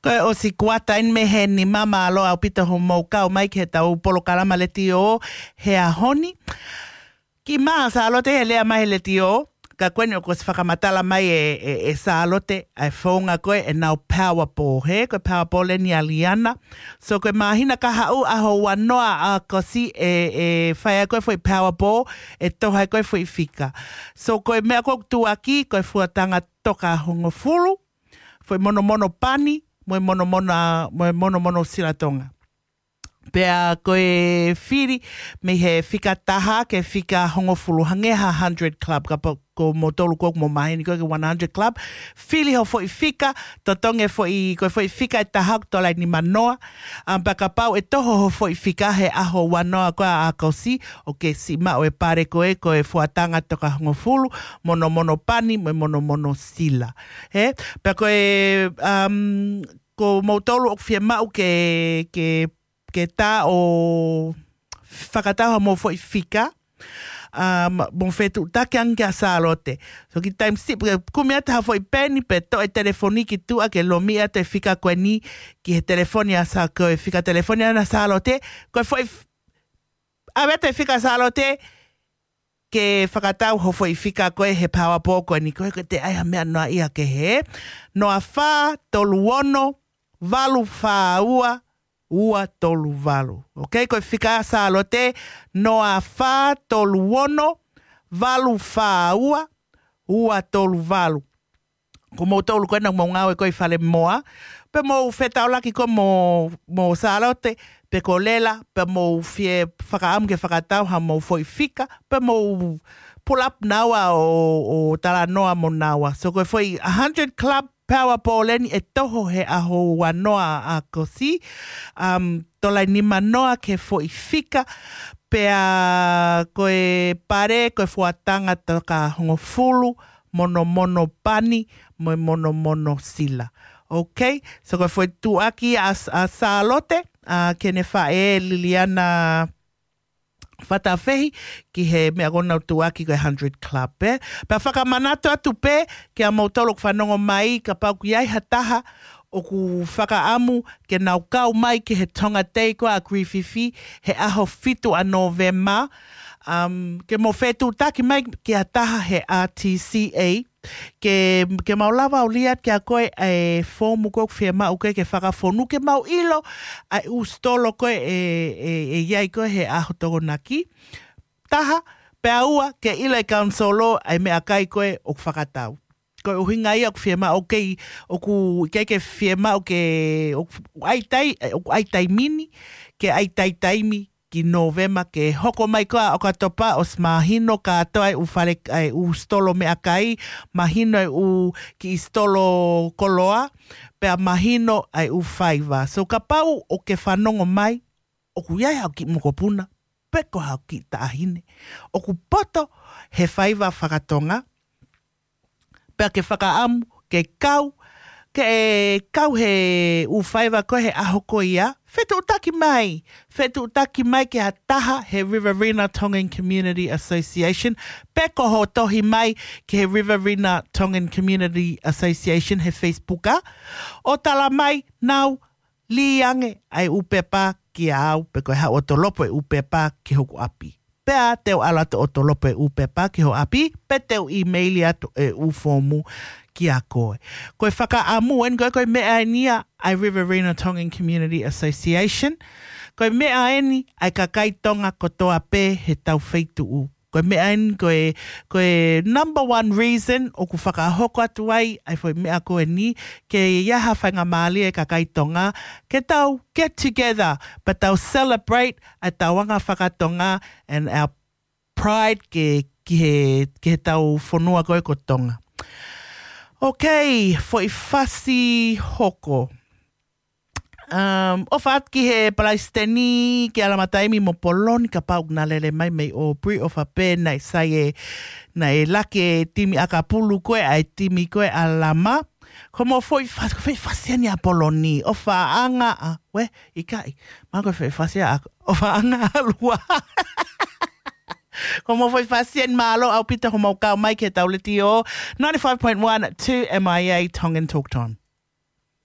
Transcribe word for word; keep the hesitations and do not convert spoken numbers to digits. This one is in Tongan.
Ko e ʻosi kuata eni mei he nima, mālō ʻaupito hoʻomou kau mai ki heʻetau polokalama letiō he ʻaho ni. Kiʻi maʻa Sālote he lea mai he letiō, ka ko eni ʻoku ʻosi fakamatala mai ʻe, ʻe, ʻe Sālote ʻa e founga ko ē ʻenau Powerball, hē, ko e Powerball eni ʻa Liana. So ko e māhina kahaʻu ʻaho uanoa ʻAokosi ʻe, ʻe fai ai ko ē foʻi Powerball, ʻe toho ai ko ē foʻi fika. So ko e meʻa ko ē ʻoku tuʻuaki, ko e fuatanga toka hongofulu, foʻi monomono pani, mo e monomono, mo e monomono silatonga. Pea ko e fili mei he fika taha ki he fika hongofulu, hangē ha hundred club, kapau ko moutolu ko ē ʻoku mou maheni ko ē ki he one hundred club, fili ho foʻi fika, totongi e foʻi, ko e foʻi fika ʻe taha ʻoku tola ʻe nimanoa, um, pea kapau ʻe toho ho foʻi fika he ʻaho uanoa ko ē ʻAokosi, ʻoku ke siʻi maʻu e pale ko ē, ko e fuatanga toka hongofulu, monomono pani, mo e monomono sila. Hē? Pea ko e, um, ko moutolu ʻoku fiemaʻu ke, ke, ke tā ʻo fakatau haʻamou foʻi fika, um, mou fetuʻutaki ange kia Sālote. So kiʻi taimi siʻi, pea kumi atu ha foʻi peni pea toʻo e telefoni ki tuʻa ke lomiʻi atu e fika ko eni ki he telefoni ʻa Sā, ko e fika telefoni ʻa Sālote, ko e foʻi f-, ʻave atu e fika Sālote, ke fakatau ho foʻi fika ko ē he Powerball ko eni, ko ē ko ē te ʻai ha meʻa noa ia ke he. Noa fā tolu ono, valu fā ua, ua tolu valu. Ok, ko e fika Sālote, noa fā tolu ono, valu fā ua, ua tolu valu. Ko moutolu ko ena ʻoku mou ngāue ko ē ʻi fale moa, pea mou fetaulaki ko ē mo, mo Sālote, pe ko Lela, pea mou fie fakaʻamu ke fakatau haʻamou foʻi fika, pea mou pull up naua ʻo, ʻo talanoa mo naua. So ko e foʻi hundred club Powerball eni ʻe toho he ʻaho uanoa ʻAokosi, um, tola ʻe nimanoa ki he foʻi fika, pea ko e pale, ko e fuatanga toka hongofulu, monomono pani, mo e monomono sila. Ok, so ko e foʻi tuʻuaki ʻa, ʻa Sālote, ʻa, ki heʻene faʻē Liliana Fatafehi, ki he meʻa ko ē ʻoku nau tuʻuaki ko e hundred club, ē. Pea fakamanatu atu pē kia moutolu ʻoku fanongo mai, kapau ʻoku ʻi ai ha taha ʻoku fakaʻamu ke nau kau mai ki he Tonga Day ko ē ʻa Grififi he ʻaho fitu ʻa Nōvema, um, ke mou fetuʻutaki mai ki ha taha he R T C A, ke, ke mau lava ʻo lea atu kia koe e foomu ko ē ʻoku fiemaʻu ko ē ke fakafonu, ke mau ʻilo ʻa e ʻū sitolo ko ē ʻe, ʻe, ʻe ʻi ai ko ē he ʻaho Tokonaki. Taha, pea ua, ke ʻilo ʻe he kau sitolo ʻa e meʻakai ko ē ʻoku fakatau. Ko e ʻuhinga ia ʻoku fiemaʻu, ʻoku ʻikai ke fiemaʻu ke, ʻoku ʻai tai-, ʻoku ʻai taimi ni, ke ʻai taimi ki Nōvema ke hoko mai ko ē ʻa ʻOkatopa ʻosi mahino kātoa e ʻū fale, e ʻū sitolo meʻakai, mahino e ʻū kiʻi sitolo koloa, pea mahino e ʻū faiva. So kapau ʻoku ke fanongo mai, ʻoku ʻi ai haʻo kiʻi mokopuna, pe ko haʻo kiʻi taʻahine ʻoku poto he faiva faka-Tonga, pea ke fakaʻamu ke kau, ke kau he ʻū faiva ko ē he ʻaho ko ia, fetuʻutaki mai, fetuʻutaki mai ki ha taha he Riverina Tongan Community Association, pe ko hoʻo tohi mai ki he Riverina Tongan Community Association he Facebook, ʻo tala mai, nau lī ange ʻa e ʻū pepa kia au, pe ko e haʻu ʻo tolopo e ʻū pepa ki hoku ʻapi. Pea te u ʻalu atu ʻo tolopo e ʻū pepa ki ho ʻapi, pe te u ʻīmeili atu e ʻū foomu kia koe. Ko e fakaʻamu eni ko ē, ko e meʻa eni ia ʻa e Riverina Tongan Community Association. Ko e meʻa eni ʻa e kakai Tonga kotoa pē he tau feituʻu. Ko e meʻa eni, ko e, ko e number one reason ʻoku fakahoko atu ai ʻa e foʻi meʻa ko eni, ke ʻi ai ha faingamālie e kakai Tonga ke tau get together, pea tau celebrate ʻa e tau anga faka-Tonga and our pride ke, ki he, ki he tau fonua ko ē ko Tonga. Ok, foʻi fasi hoko. Um, ʻofa atu ki he Palaisiteni, ki Alamataimi mo Poloni, kapau naʻe lele mai mei Aubrey, ʻofa pē naʻe sai e, naʻe laki e timi ʻakapulu ko ē ʻa e timi ko ē ʻa Lama. Ko mo foʻi fasi, foʻi fasi eni ʻa Poloni, ʻofaʻanga ʻa, we, ʻikai, ma ko foʻi fasi ʻa, ʻofaʻanga ʻa Lua. Ko mo foʻi fasi eni, mālō ʻaupito hoʻomou kau mai ki he tau letiō, ninety-five point one two M I A Tongan Talk Time.